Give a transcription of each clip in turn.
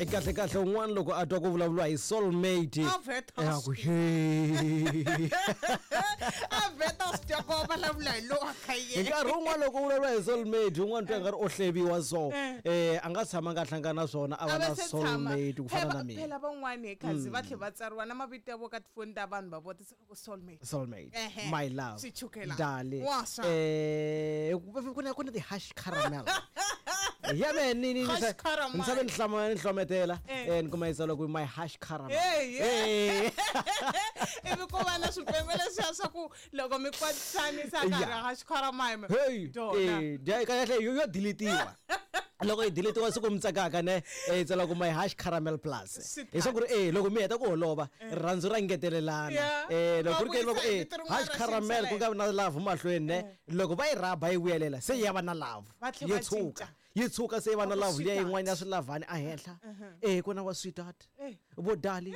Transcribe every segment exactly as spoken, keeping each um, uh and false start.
Kahle kahle un'wana loko a twa ku vulavuriwa hi soulmate A vheta a ku he a vheta swi twa ku vulavula hi lowa ka hi yena nkarhi wun'wana loko u vulavula hi soulmate un'wana twa nga ri o hleviwa so eh a nga tshama nga hlangana na swona a va A va na se tshama. soulmate ku fana Phela- na mina phela van'wani hi khazi va tlhe va tsariwa na mavito ya vo ka tifoni ta vanhu va vutisa ku soulmate soulmate Ehe. my love Swichukela. dali Wa swa. eh ku na ku na ti-hash caramel ya me ni ni Hash caramel. ni sabe ni hlama ni hlometela Eh. eh ni kuma yi tsala ku my hash caramel Hey, yeah. Eh. Ivi ku va na swipengo leswiya swa ku loko mi kwatisanisa karhi Yeah. ha xikharamime hey Dona. eh dya kahle yo yo deletiwa loko yi deletiwa siku mi tsakaka ne eh, yi tsala ku my hash caramel plus Swi hi swa ku ri eh loko mi heta ku holova rirhandzu ra ngetelelana Yeah. eh loko ku ri ke Va loko vuyisa hi eh vito rin'wana hash ra caramel ku nga vi na love mahlweni ne loko va yi rhaba yi vuyelela se ya va na love Va tlhe yi va tshuka cinca. yi tshuka se yi va na Va ku love liya sweetheart. yin'wana ya swilavhani ehenhla eh ku na wa sweetheart Eh. vo dali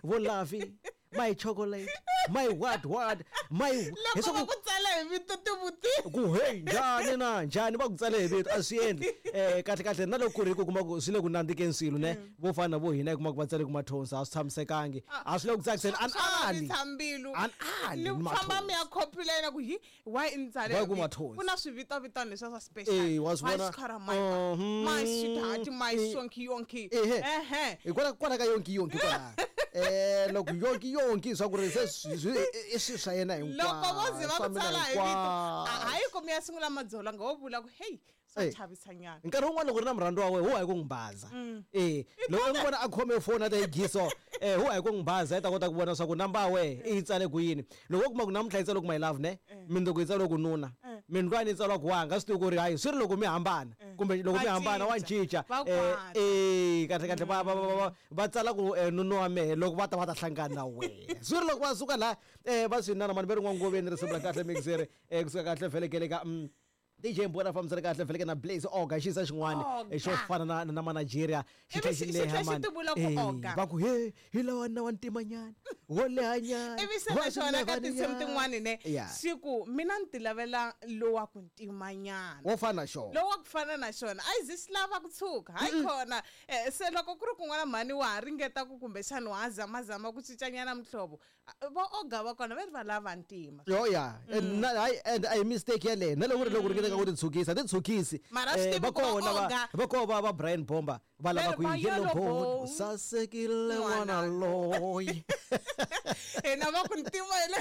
vo lovey my chocolate my what what my loko hi va ku tsala hi vito tivuti ku hey njhani na njhani va ku tsale hi vito a swi endli um kahle kahle na loko ku ri ku kuma ku swi le ku nandzikeni swilo ne vo fana na vo hina hi kuma ku va tsale ku mathonsi a swi tshamisekangi a swi le ku tsakiseni an ali vavisa mbilu An ali ni ni famba mathonsi. mi ya copy layena ku hi why i ni tsale Why hi ku vito? mathonsi? Ku na swivitovitano leswiya swa special Eh, wa swi My vona? xikharamime, Mhm. my sweetheart my Eh. sonki yonki ehe ehe hi kwala kwala ka yonki yonki kwala um loko yonki yonki swa ku ri se swi- swi- i- i swilo swa yena loko vo ze va swa ku mina tsala hi vito hinkwaswo. hayi ku mi ya sungula madzolonga wo vula ku heyi swa Eh. chavisanyana nkarhi wun'wana loko ri na murhandzi wa wena wu hayi ku n'wi baza e loko u n'wi vona a khome foni a ta yi giso um wu hayi ku n'wi baza i ta kota ku vona swa ku namba ya wehe i yi tsale ku yini loko wo kuma ku namuntlha yi tsale ku my love ne mindzuku yi tsale ku nuna mindlwani yi tsaliwa ku wanga swi tivi ku ri hayi swi ri loko mi hambana kumbe loko Va mi hambana wa cinca. cinca Va Eh, kwata. eh kahle kahle va va va va- va tsala ku eh, nuna wa mehe loko va ta va ta hlangana na wehe swi ri loko va suka laha um va swi nana mani ve ri n'wangoveni risimu ra kahle mixere um kusuka kahle vhelekele ka mm, D J Mbona fambisana kahle vheleke na Blaze Oga xisa xin'wana Oga. eh, xo fana na na ma Nigeria xi tlhe Ivi xi xi- xi leha tlhe xi mani. tivula ku Eh, Oga. va ku he hi lawa na wa ntimanyana wo lehanyana ivi se wa na xona ka tinsimu swilevanyana. tin'wani ne Yeah. xi ku mina ni ti lavela lowa ku ntimanyana wo fana na xona lowa ku fana na xona a yi zi xi lava ku tshuka hayi khona Eh, se loko ku ri kun'wana mhani wa ha ringeta ku kumbexani wa ha zamazama ku cincanyana muhlovo ah, vo oga va kona va ri va lava ntima yo ya and na hayi and a hi mistake yaleyo na loko ri loko ri ringeta ku titshukisa titshukisi Mara a swi Eh, tivi va ku va kona va Oga. va kona va va Brian Bomber va lava Ve ri ku va yi yellow yellow bone bone. u sasekile N'wana n'wana loyi hina va ku ntima hi le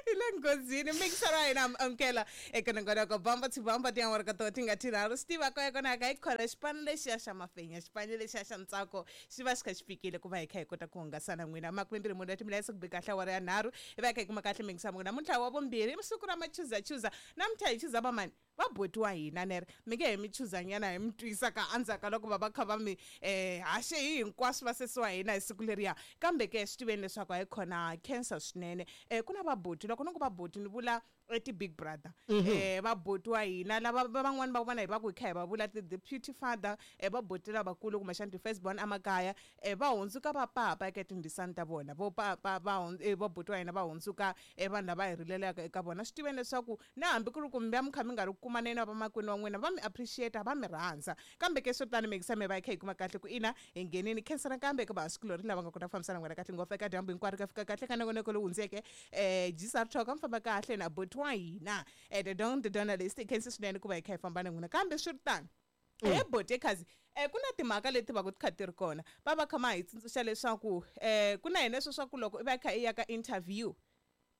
hi le nghozini mixer wa hina amukela eka nongonoko bamba tibamba tiawara ka toho ti nga tinharhu swi tiva ko kona ka hi khona xipano lexiya xa mafenya xipano lexiya xa ntsako xi va xi kha xi fikile ku va hi kha hi kota ku hungasa na n'wina makumembirhi mune wa timiletse ku bi kahle awara ya nharhu hi va hi kha hi kuma kahle mingisa munhu namuntlha wa vumbirhi i siku ra machuzachuza namuntlha hi chuza vamani va botiwa hina nere mi nge he mi chuzanyana hi mi twisa ka endzhaku ka loko va va kha va mi um haxe hi hinkwaswo va sesi wa hina hi siku leriya kambe ke swi tiveni leswaku hayi khona cancer swinene um ku na vaboti loko ni ku vaboti ni vula eh, ti-big brother um vaboti wa hina lava va- van'wani va vona hi va ku hi kha hi va vula ti-deputy father um vaboti lavakulu kumbexana ti-first born emakaya um va hundzuka vapapa eka tindisani ta vona vo papa va hun- eh, vaboti wa hina va hundzuka eh, vanhu lava hi rilelaka eka vona swi tiveni leswaku na hambi ku ri ku mi va mi kha mi nga ri ku kumaneni na vamakwenu wa n'wina va mi appreciate va mi rhandza kambe ke swo tani mikisa mi va hi kha hi kuma kahle ku ina hi nghenini khensa nakambe eka vahasikulori lava nga kota ku fambisana n'wina kahle ngopfu eka dyambu hinkwaro ka fika kahle ka nongonoko lowu hundzeke um gsr talk a mi famba kahle na boti wa hina um the don the journalist khensa swinene ku va hi kha hi famba na n'wina kambe swi ri tano he boti ekhazi um ku na timhaka leti va ku ti kha ti ri kona va va kha ma hi tsundzuxa leswaku um ku na hina leswo swa ku loko i va i kha i ya ka interview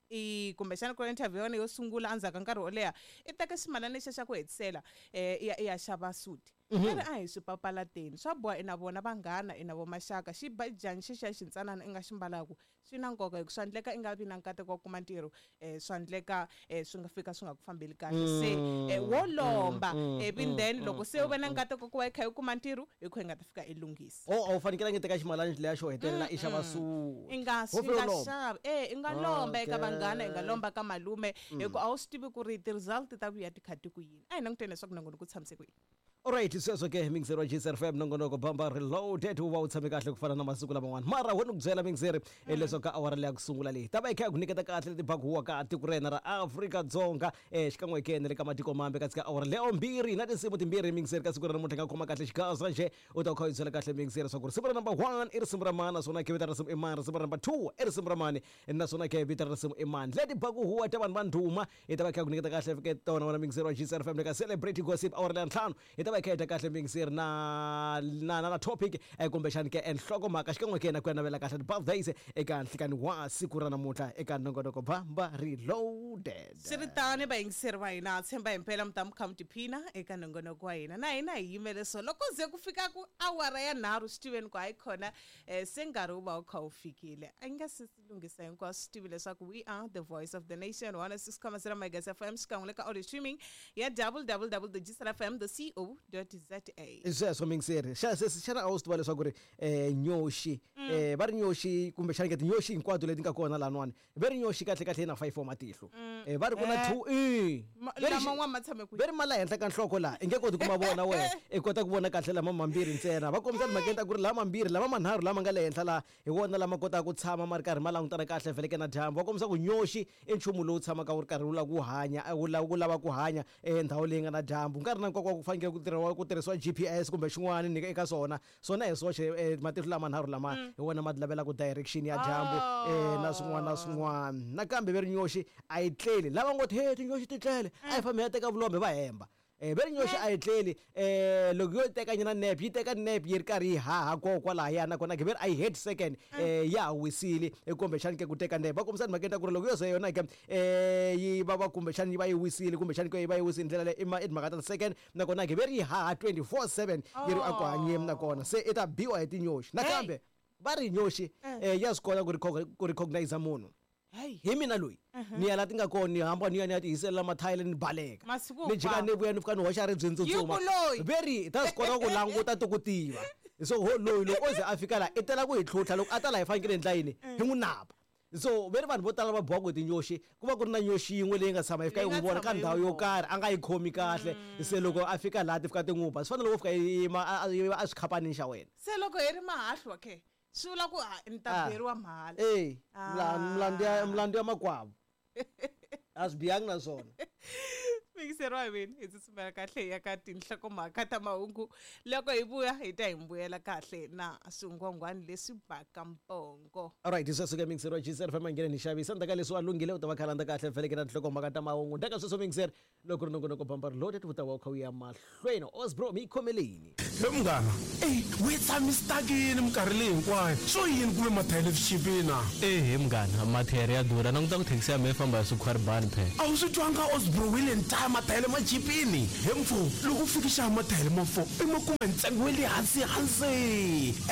i kumbexana ku ri interview ya wena yo sungula endzhaku ka nkarhi wo leha i teka ximalana lexiya xa ku hetisela um i ya i ya xava suti va ri a hi swi papalateni swa boha i na vona vanghana i na vo maxaka xibajani xexiya xintsanana i nga xi mbalaku swi na nkoka hi ku swa endleka i nga vi na nkateko wa ku kuma ntirho um swa endleka um swi nga fika swi nga ku fambeli kahle se eh, wo lomba ivi then loko se u ve na nkateko ku va i kha i kuma ntirho hi ku hi nga ta fika i lunghisa o a wu fanekelangi teka ximalani leya xo hetelela i xava suti i nga Ho i fela nga u lomba. xavi e i nga lomba eka Okay. vanghana i nga lomba ka malume hi ku a wu swi tivi ku ri ti-result ta vuya ti kha ti ku yini a hi languteni leswaku nongonoko ku tshamise ku yini. Alright, sweswo ke mixer wa G S R F M nongonoko bamba reloaded wu va wu tshame kahle ku fana na masiku laman'wana mara wena ku byela mixer leswaku ka awara leya ku sungula leyi ta va yi kha yi ku nyiketa kahle leti bakuwa ka tiko ra hina ra Afrika-Dzonga eh xikan'we ke na le ka matiko mambe ka tsika awara leyo mbirhi na tinsimu timbirhi mixer ka siku ra namuntlha nga khoma kahle xigaza nje u ta kha u yi byela kahle mixer leswaku risimu ra number one i risimu ra mani naswona ke vito ra risimu i mani risimu ra number two i risimu ra mani naswona ke vito ra risimu i mani leti bakuhuwa ta vanhu va ndhuma yi ta va yi kha yi ku nyiketa kahle ke tona wena mixer wa G S R F M le ka Celebrity Gossip awara leya ntlhanu yi ta va yi kha yi dya kahle mixer na na na topic eh, kumbexani ke enhlokomhaka xikan'we ke na ku ya navela kahle ti-birthdays eka nhlikani wa siku ra namuntlha eka nongonoko bamba reloaded. Swi ri tano vayingiseri va hina tshemba hi mpela mi ta mi kha mi tiphina eka nongonoko wa hina na hina hi yimele so loko ze ku fika ku awara ya nharhu swi tiveni ku hayi khona um se nkarhi wu va wu kha wu fikile a yi nga se lunghisa hinkwaswo swi tivi leswaku we are the voice of the nation one six comma zero megas F M xikan'we le ka audio streaming ya double double double dot G S R F M dot C O dot Z A. Sweswo mixer xana a wu swi tiva leswaku ri um nyoxi um va ri nyoxi kumbexani ke tinyoxi hinkwato leti nga kona lahanwani ve ri nyoxi kahle kahle yi na five wa matihlo um va ri ku na two e laman'wana ma tshame kwihi ve ri ma la henhla ka nhloko laha i nge koti ku ma vona wena i kota ku vona kahle lama mambirhi ntsena va kombisa timhakeni ta ku ri lama mambirhi lama manharhu lama nga le henhla laha hi wona lama kotaka ku tshama ma ri karhi ma langutana kahle vheleke na dyambu va kombisa ku nyoxi i nchumu lowu tshamaka wu ri karhi wu lava ku hanya wu lava ku lava ku hanya endhawu leyi nga na dyambu nkarhi na nkoka wa ku fanekele ku tirhiwa ku tirhisiwa G P S kumbe xin'wana ni eka swona swona hi swoxe matihlo lama nharhu lama hi wona ma lavelaka direction ya dyambu na swin'wana na swin'wana nakambe ve ri nyoxi a yi tleli lava ngo ti he tinyoxi ti tlele a yi fambi ya teka vulombe va hemba eh ve ri nyoxi a yi tleli eh loko yo teka nyana nap yi teka nap yi ri karhi yi haha kona kwalahaya nakona ke ve ri a yi head second eh ya ha wisile kumbexani ke ku teka nap va kombisa timhakeni ta ku ri loko yo ze yona ke eh yi va va kumbexani yi va yi wisile kumbexani ke yi va yi wisile ndlela leyi i timhaka ta second nakona ke ve ri yi haha twenty-four seven yi ri a ku hanyeni nakona se i ta biwa hi tinyoxi nakambe va ri nyoxi eh ya swi kota ku recognize munhu hi mina loyi ni ya la ti nga kona ni hamba ni ya ni ya tihiselela mathayele ni baleka ni jika ni vuya ni fika ni hoxa ribye ni tsutsuma ve ri ta swi kota ku languta ti ku tiva so ho loyi loko o ze a fika laha i tela ku hi tlhutlha loko a ta laha hi fanekele hi ndla yini hi n'wi napa so ve ri vanhu vo tala va bohaka hi tinyoxi ku va ku ri na nyoxi yin'we leyi nga tshama yi fika yi n'wi vona ka ndhawu yo karhi a nga yi khomi kahle se loko a fika laha ti fika ti n'wi ba swi fana loko u fika yi yima a swikhapanini xa wena se loko hi ri mahahlwa ke swi vula ku ni ta beriwa mahala e milandzu ya milandzu ya makwavo a swi bihangi na swona mixer wa mina hi tsutsumela kahle ya ka tinhlokomhaka ta mahungu loko hi vuya hi ta hi mbuyela kahle na swingwangwani leswi baka mpongo. Alright, sweswo ke mixer wa G S R F M nghene ni xavisa ndzhaku ka leswi a lunghile u ta va khalanda kahle vheleke na tinhlokomhaka ta mahungu ndzhaku ka sweswo mixer loko ri nongonoko bamba reloaded wu ta va wu kha wu ya mahlweni Osbro mi yi khomeleni he munghana eyi we tshami stakini minkarhi leyi hinkwayo swo yini ku ve mathayele swi chipini na ehe munghana mathayere ya durha languta ku thekisi ya mehe famba hi swikhwaribani phela a wu swi twanga Osbro hi le ntaya mathayele ma chipini he mfo loko u fikisa mathayele ma four i ma kuma ntsengo wa le hansi hansi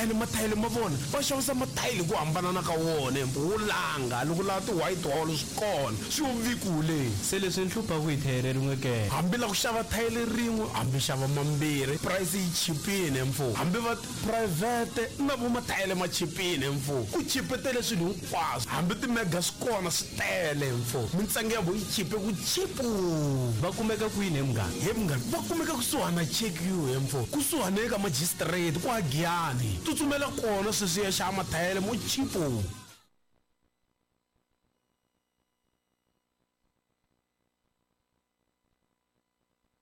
ene mathayele ma vona va xavisa mathayele ku hambanana ka wona wo langa loko lava ti-white hall swi kona swi yo vikule se leswi ni hluphaku hi thayere rin'we ke hambi la ku xava thayele rin'we hambi xava mambirhi price yi chipini mfo hambi va private na vo mathayele ma chipini mfo ku chipetele swilo hinkwaswo hambi timega swi kona swi tele mfo mintsengo ya vo yi chipe ku chipu va kumeka kwini he munghana he munghana va kumeka kusuhana check you he mfo kusuhana eka magistrate kwa Giyani tsutsumela kona sweswi ya xava mathayele mo chipu.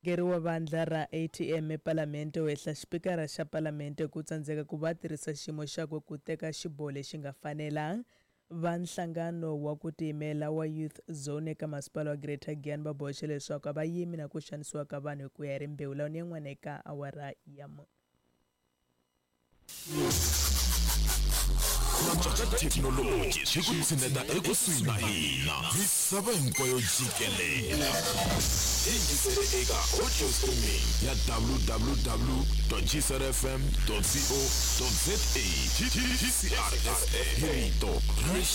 Murhangeri wa vandla ra A T M ePalamente u hehla xipikara xa Palamente ku tsandzeka ku va tirhisa xiyimo xakwe ku teka xiboho lexi nga fanela. Va nhlangano wa ku tiyimela wa Youth Zone eka masipala wa Greater Giyani va boxe leswaku a va yimi na ku xanisiwa ka vanhu hi ku ya hi rimbewu lawa ni yin'wana eka awara ya mune. Thekinoloji swi ku tshineta ekusuhi na hina misava hinkwayo jikelele yingisele eka audio streaming ya w w w dot g s r f m dot co dot z a G C R F M hi rito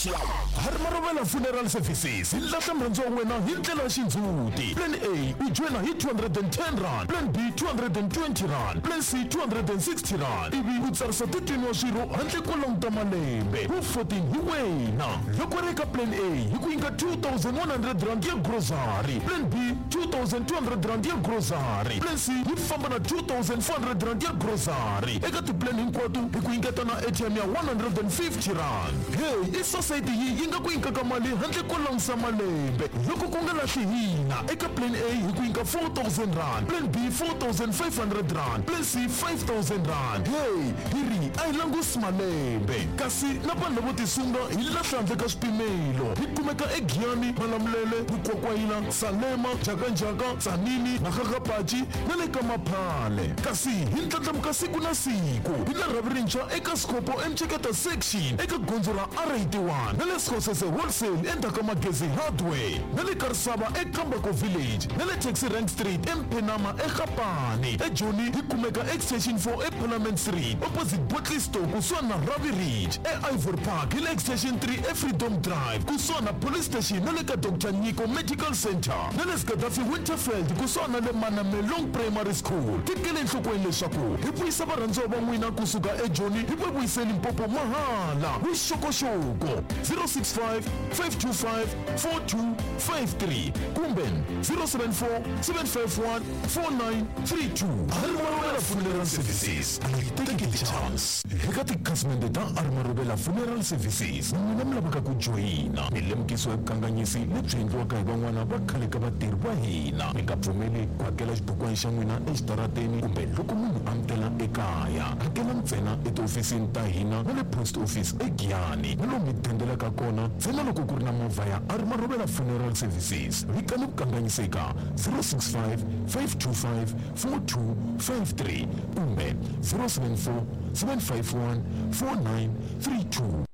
ra Harimarovela Funeral Services hi lahla murhandzi wa wena hi ndlela ya xindzhuti. Plan A u joyina hi two hundred and ten rand, Plan B two hundred and twenty rand, Plan C two hundred and sixty rand ivi u tsarisa thirteen wa swirho handle ko languta malembe. malembe wu fourteen hi wena loko ri eka plan A hi ku nyika two thousand one hundred rand ya grocery plan B two thousand two hundred rand ya grocery plan C yi famba na two thousand four hundred rand ya grocery eka tiplan hinkwato hi ku nyiketa na A T M ya one hundred and fifty rand hey i society yi yi nga ku nyikaka mali handle ko langusa malembe loko ku nga lahli hina eka plan A hi ku nyika four thousand rand plan B four thousand five hundred rand plan C five thousand rand hey hi ri a hi langusi malembe kasi na vanhu lavo tisunga hi lahla handle ka swipimelo hi kumeka eGiyani Malamulele Mukwakwayila Salema Jakanjaka Tsanini Makgakgapachi na le ka Maphale kasi hi ndlandlamuka siku na siku hi la rhavi rintshwa eka Scopo Emcheketa section eka gondzo ra R eighty-one na le Skhosese wholesale endzhaku ka Magezi Hardware na le Karisava eKambako Village na le Taxi Rank Street eMphenama eGapani eJoni hi kumeka extension four eParliament Street opposite Botley Store kusuhani na Ravi Ridge eIvory Park hi le extension three eFreedom Drive kusuhani na Police Station na le ka Doctor Nyiko Medical Center na le Gaddafi Winterfeld kusuhani na le Manamelong Primary School tekele enhlokweni leswaku hi vuyisa varhandziwa va n'wina kusuka eJoni hi va vuyise Limpopo mahala vuxokoxoko zero six five five two five four two five three kumbe zero seven four seven five one four nine three two Armarubela Funeral Services a yi teki chance eka tikhasimende ta Armarubela Funeral Services n'wina mi lavaka ku joyina milemukiso ya vukanganyisi lebyi endliwaka hi van'wana va khale ka vatirhi va hina mi nga pfumeli ku hakela xibukwana xa n'wina exitarateni kumbe loko munhu a mi tela ekaya hakela ntsena etihofisini ta hina na le post office eGiyani na lomu mi dendelaka kona ntsena loko ku ri na movha ya Armarubela Funeral Services vikani vukanganyiseka zero six five five two five four two five three kumbe zero seven four seven five one four nine three two.